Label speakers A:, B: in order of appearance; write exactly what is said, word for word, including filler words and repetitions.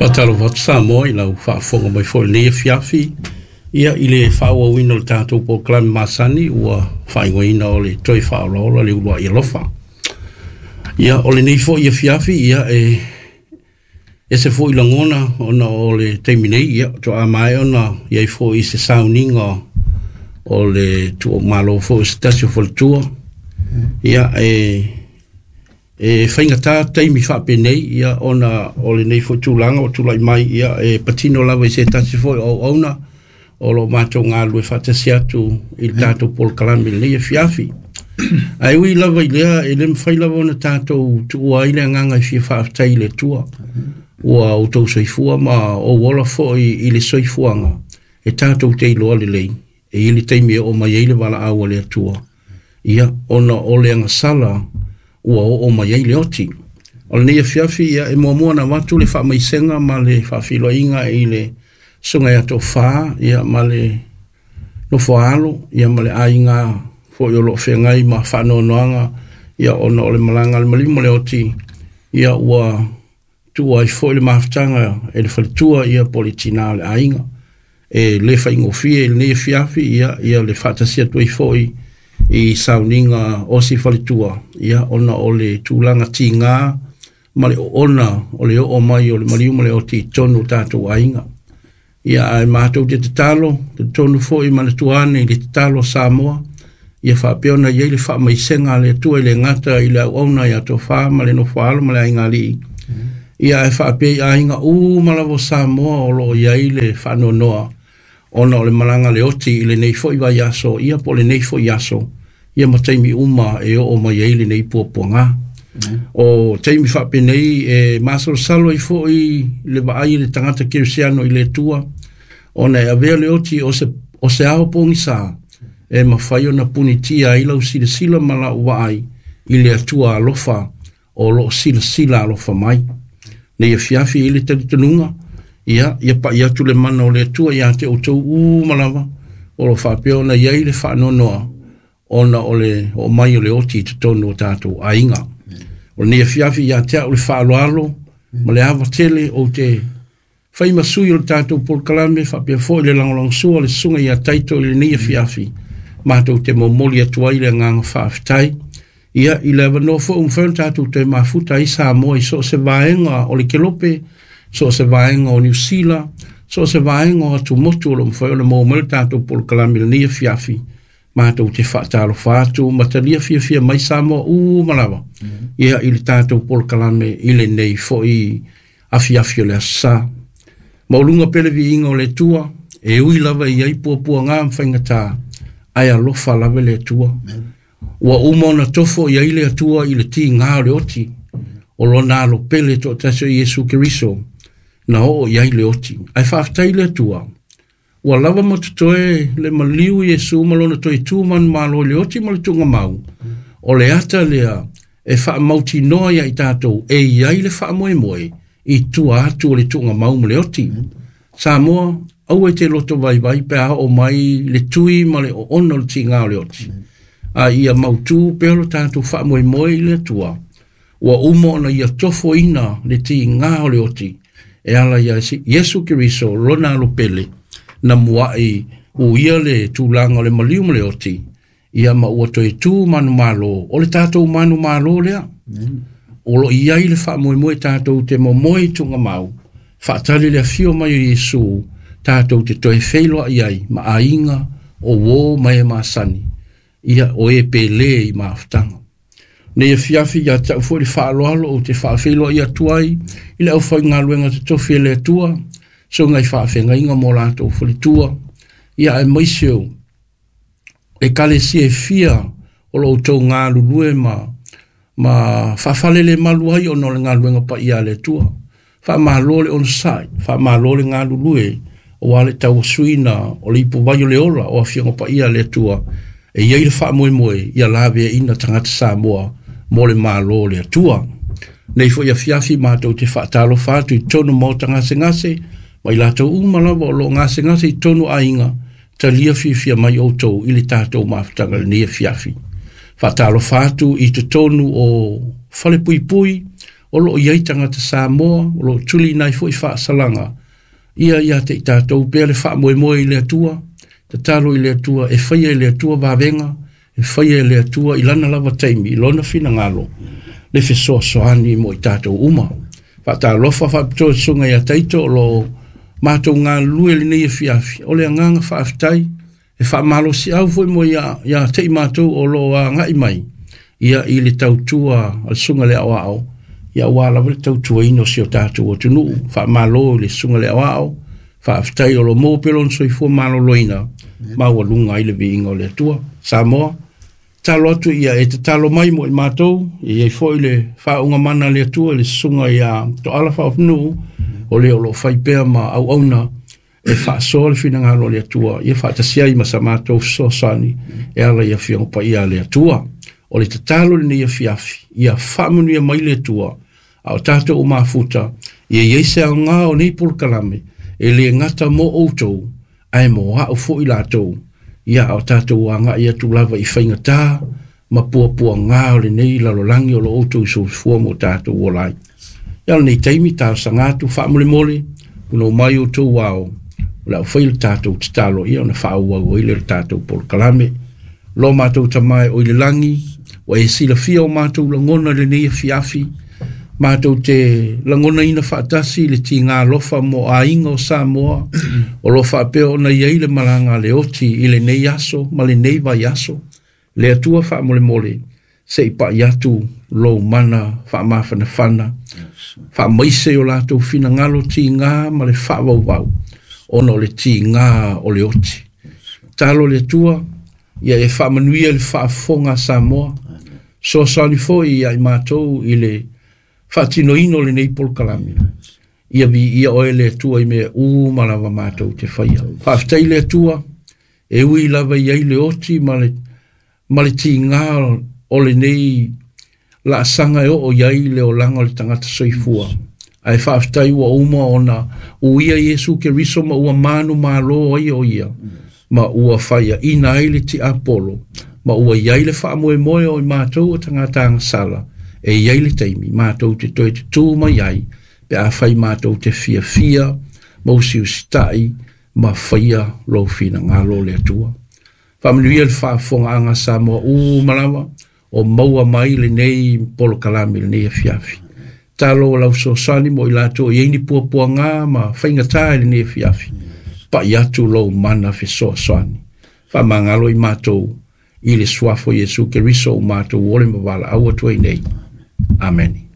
A: Faatalofa atu Samoa i lau faafofoga mai foi i lenei afiafi. Ia i le faaauauina o le tatou polokalame masani ua faaigoaina o le toe faaolaola le uluai alofa. Ia o lenei foi afiafi ia e ese foi lagona ona o le taimi nei ia faatoa maea ona i ai foi i se sauniga o le tuumalo foi o se tasi o faletua. Ia e e faigata taimi faapenei ia ona o lenei foi tulaga ua tulai mai ia e patino lava i se tasi foi o auauna o lo o matou galulue faatasi atu i le tatou polokalame i lenei afiafi. Ae ui lava i lea, e le mafai lava ona tatou tuua ai le agaga e fia faafetai i le Atua. Ua outou soifua ma ou ola foi i le soifuaga e tatou te iloa lelei. E i ai le taimi e oo mai ai le valaau a le Atua. Ia, ona o le agasala ua oo mai ai le oti. O lenei afiafi, ia, e muamua ona avatu le faamaisega ma le faafeiloaiga i le susuga ia Tofa, ia, ma le nofoaalo, ia, ma le aiga foi o lo o feagai ma faanoanoaga, ia, ona o le malaga a le maliu ma le oti, ia, ua tuua ai foi le mafutaga e le faletua, ia, po o le tina o le aiga. E le faigofie i lenei afiafi, ia, ia le faatasi atu ai foi i sauniga o si faletua, ia, ona o le tulaga tiga ma le oona o le oo mai o le maliu ma le oti i totonu o tatou aiga. Ia, ae matou te tatalo, talitonu foi manatua ane i le tatalo a Samoa, ia faapea ona i ai le faamaisega a le Atua i le gata i le auauna ia Tofa ma le nofoaalo ma le aiga alii. Ia, ae faapea i aiga uma lava o Samoa o lo o i ai le faanoanoa ona o le malaga le oti i lenei foi vaiaso, ia po o lenei foi aso, ia ma taimi uma e oo mai ai lenei puapuaga. O taimi faapenei e masalosalo ai foi le vaai i le tagata kerisiano i le Atua, ona e avea le oti o se, o se ao pogisa e mafai ona punitia ai lau silasila ma lau vaai i le Atua alofa o lo o silasila alofa mai. Nei afiafi i le talitonuga, ia, ia pai atu le mana o le Atua ia te outou uma lava, o lo o faapea ona i ai le faanoanoa ona o le oo mai o le oti i totonu o tatou aiga. O lenei afiafi ia te au le faaaloalo ma le ava tele ou te fai ma sui o le tatou polokalame faapea foi le lagolagosua le susuga ia Taito i lenei afiafi. Matou te momoli atu ai le agaga faafetai. Ia, i le avanoa foi ua mafai ona tatou toe mafuta ai Samoa i so o se vaega o le Kelope, so o se vaega o Niu Sila, so o se vaega o atumotu o lo o mafai ona maua mai le tatou polokalame i lenei afiafi. Matou te faatalofa atu ma talia fiafia mai Samoa uma lava. Ia, i le tatou polokalame i lenei foi afiafi o le aso Sa. Maualuga pea le viiga o le Atua, e ui lava i ai puapuaga ma faigata, ae alofa lava le Atua. Ua uma ona tofo i ai le Atua i le tiga o le oti, o lona alo pele toatasi o Iesu Keriso, na oo i ai le oti. Ae faafetai le Atua, ua lava ma totoe le maliu Iesu ma lona toe tu manumalo i le oti ma le tuugamau. O le ata lea e faamautinoa ia i tatou e i ai le faamoemoe i tua atu o le tuugamau ma le oti. Samoa, aua e te loto vaivai pe a oo mai le tui ma le oona o le tiga o le oti. A ia mautu pea lo tatou faamoemoe i le Atua. Ua uma ona ia tofoina le tiga o le oti e ala ia Iesu Keriso lona alo pele na muai uia le tulaga o le maliu ma le oti, ia ma ua toe tu manumalo o le tatou manumalo lea. O lo o i ai le faamoemoe tatou te momoe i tuugamau, faatali le afio mai o Iesu, tatou te toe feiloai ai ma aiga o uo ma e masani, ia o e pele i mafutaga. Nei afiafi ia te au foi le faaaloalo ou te faafeiloai atu ai i le aufaigaluega totofi e le Atua, susuga i faafeagaiga mo latou faletua, ia aemaise o ekalesia e fia o lo outou galulue ma ma faafalelemalu ai ona o le galuega paia a le Atua. Faamalo le onosai, faamalo le galulue, aua le tauasuina o le ipuvai o le ola o afioga paia a le Atua, e i ai le faamoemoe ia laveaina tagata Samoa mo le malo o le Atua. Nei foi afiafi matou te faatalofa atu i totonu maota gasegase, ma i latou uma lava o lo o gasegase i totonu aiga, talia fiafia mai outou i le tatou mafutaga i lenei afiafi. Faatalofa atu i totonu o falepuipui O loo i ai tagata Samoa, o loo tuliina ai foi faasalaga ia ia te i tatou pea le faamoemoe i le Atua, tatalo i le Atua, e faia e le Atua vavega, e faia e le Atua i lana lava taimi, i lona finagalo, le fesoasoani mo i tatou uma. Faatalofa faapitoa i le susuga ia Taito o loo matou galulue i lenei afiafi. O le agaga faafetai e faamalosiau foi mo ia, ia te i matou o loo agai mai ia i le tautua a le susuga i le aoao, ia aua lava le tautuaina o si o tatou atunuu. Faamalo i le susuga i le aoao, faafetai o lo maua pea lona soifua maloloina, maualuga ai le viiga o le Atua. Samoa, tatalo atu ia e tatalo mai mo i matou, e i ai foi le faauuga mana a le Atua i le susuga ia Toala Faaofinuu, o le o loo fai pea ma auauna e faasoa le finagalo o le Atua, ia faatasi ai ma sa matou fesoasoani e ala i afioga paia a le Atua. O le tatalo lenei afiafi, ia faamanuia mai le Atua, a o tatou o mafuta, ia i ai se aoga o nei polokalame, e le gata mo outou, ae mo au foi latou, ia a o tatou agai atu lava i faigata ma puapuaga o lenei lalolagi o lo outou soifua mo tatou ola ai. Ia o lenei taimi talosaga atu faamolemole, punou mai outou ao, o le a fai le tatou tatalo ia ona faaauau ai lea o le tatou polokalame. Lo matou Tama e o i le lagi, ua e silafia o matou lagona i lenei afiafi, matou te lagonaina faatasi le tiga alofa mo aiga o Samoa, o lo faapea ona i ai le malaga a le oti i lenei aso ma lenei vaiaso. Le Atua faamolemole, se i pai atu lou mana faamafanafana, faamaise o latou finagalo tiga ma le faavauvau, ona o le tiga o le oti. Talo le Atua, ia e faamanuia le faafofoga a Samoa, fesoasoani foi ia i matou i le faatinoina o lenei polokalame. Ia viia oe le Atua i mea uma lava matou te faia. Faafetai le Atua, e ui lava i ai le oti ma le, ma le tiga o lenei laasaga e oo i ai le olaga o le tagata soifua. Ae faafetai ua uma ona uia Iesu Keriso ma ua manumalo ai o ia, ma ua faiaina ai le tiapolo, ma ua i ai le faamoemoe o i matou o tagata agasala, e i ai le taimi matou te toe tutū mai ai, pe afai matou te fiafia ma usiusitai ma faia lou finagalo le Atua. Faamanuia le faafofogaaga a Samoa uma lava o maua mai lenei polokalame i lenei afiafi. Talo o lau fesoasoani mo i latou e i ai ni puapuaga ma faigata i lenei afiafi. Pai atu lou mana fesoasoani. Faamagalo i matou i le suafa o Iesu Keriso o matou ole ma valaau atu ai nei. Amene.